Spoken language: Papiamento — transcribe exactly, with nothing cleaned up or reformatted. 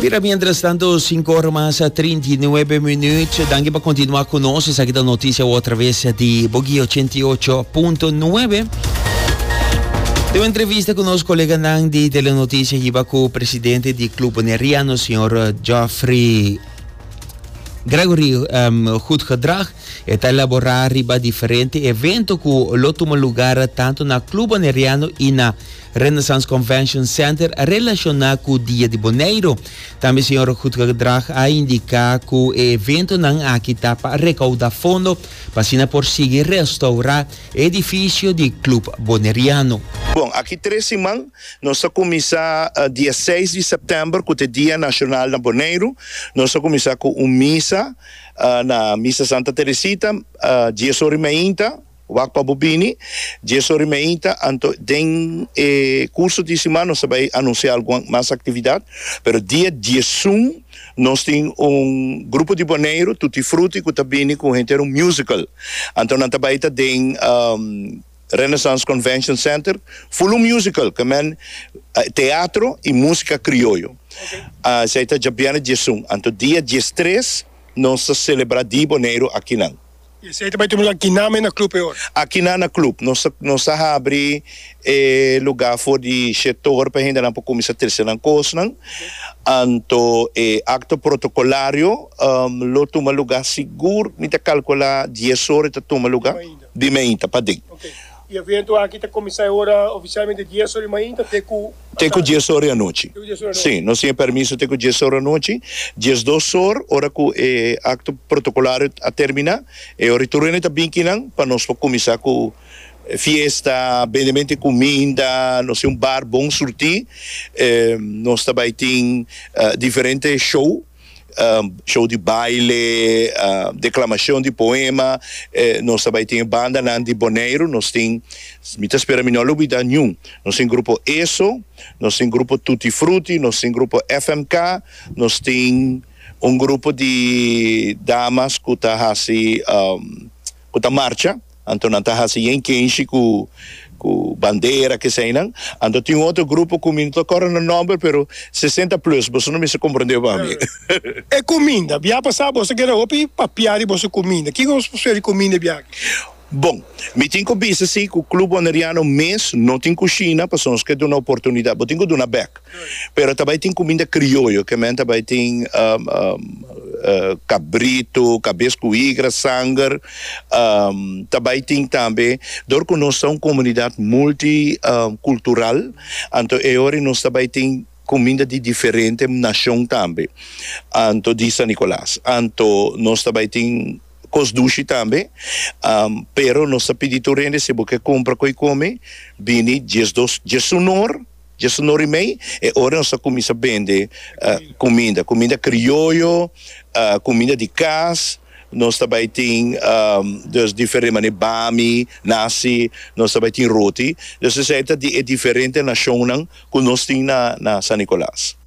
Mira, mientras tanto, sinku or mas trinta i nuebe minuut. Danki pa continua cu nos. Esaki ta noticia otra vez di Bogui ochenta i ocho punto nuebe. Den un entrevista cu nos colega di Telenoticia, hiba cu presidente di Club Boneriano, señor Geoffrey Gregory um, Goedgedrag, ta elabora riba diferente evento cu lo tuma luga tanto na Club Boneriano y na Renaissance Convention Center relaciona cu Dia di Boneiro. Tambe señor Goedgedrag a indica cu e eventonan aki ta pa recauda fondo pa asina por sigui restaura edificio di Club Boneriano. Bon, aki tres siman, nos ta cuminsa uh, dia seis di september, cu ta Dia Nacional na Boneiro. Nos ta cuminsa cu un misa uh, na Misa Santa Teresita, uh, dies or y meinta, wak pa bo bini, dies or y meinta, anto den eh, curso di siman nos ta bay anuncia algun mas actividad, pero dia diesun nos tin un grupo di Boneiro, Tutti Frutti, cu ta bini cu henter un musical. Anto nan ta bay ta den um, Renaissance Convention Center, full musical, cu men teatro y musica crioyo. Okay. Uh, esey ta diabierna diesun. Anto dia diestres nos ta celebra Dia Boneiro akinan. Y esey tambe tin aki na na club awor? Aki na na club. Nos nos ta habri eh, luga for di shete or pa hende por cuminsa trece nan cosnan. Anto eh, acto protocolario um, lo tuma luga sigur, mi ta calcula dies or ta tuma luga. Di mainta pa den. Okay. E evento aki ta cuminsa awor oficialmente dies or di mainta, te cu Te cu dies or di anochi. Si, nos tin permiso te cu dies or di anochi. diesdos or, ora cu e acto protocolario a termina, e ora tur hende ta bin akinan pa nos cuminsa cu fiesta, bendemento di cuminda, nos tin un bar bon surti, eh, nos tambe tin uh, diferente show, um, show di baile, uh, declamacion di poema, eh, nos tambe tin banda di Boneiro, nos tin, mi ta spera mi no lubida ningun, nos tin grupo ESO, nos tin grupo Tutti Frutti, nos tin grupo F M K, nos tin un grupo di damas cu ta hasi, um, cu ta marcha, anto nan ta hasi yen kenshi cu cu bandera cu esey nan. Anto tin otro grupo cu mi no corda e nomber, pero sesenta plus, bo no mester comprende pa mi. E cuminda, bia pasa bo a keda hopi papia di bo cuminda. Kico bo di cuminda bia? Bon, mi tin cu bisa si cu Club Boneriano mes no tin cushina, pa nos kier duna oportunidad, bo tin cu duna bek. Pero tambe tin cuminda crioyo, kiermen tambe tin um, um, uh, cabrito, cabes cu higra, sanger, um, tambe tin tambe, door cu nos ta un comunidad multicultural, um, anto e ora nos tambe tin cuminda di diferente nacion tambe. Anto di San Nicolas. Anto nos tambe tin cos dushi tambe, um, pero nos ta pidi tur hende, si bo kier cumpra y come, bini diesdos, diesun or, diesun or y mei, e ora nos ta cuminsa bende uh, cuminda, cuminda crioyo, uh, cuminda di cas. Nos tambe tin um, dus diferente manera, bami, nasi, nos tambe tin roti. Dus esey ta di diferente nacion cu nos tin na, na San Nicolas.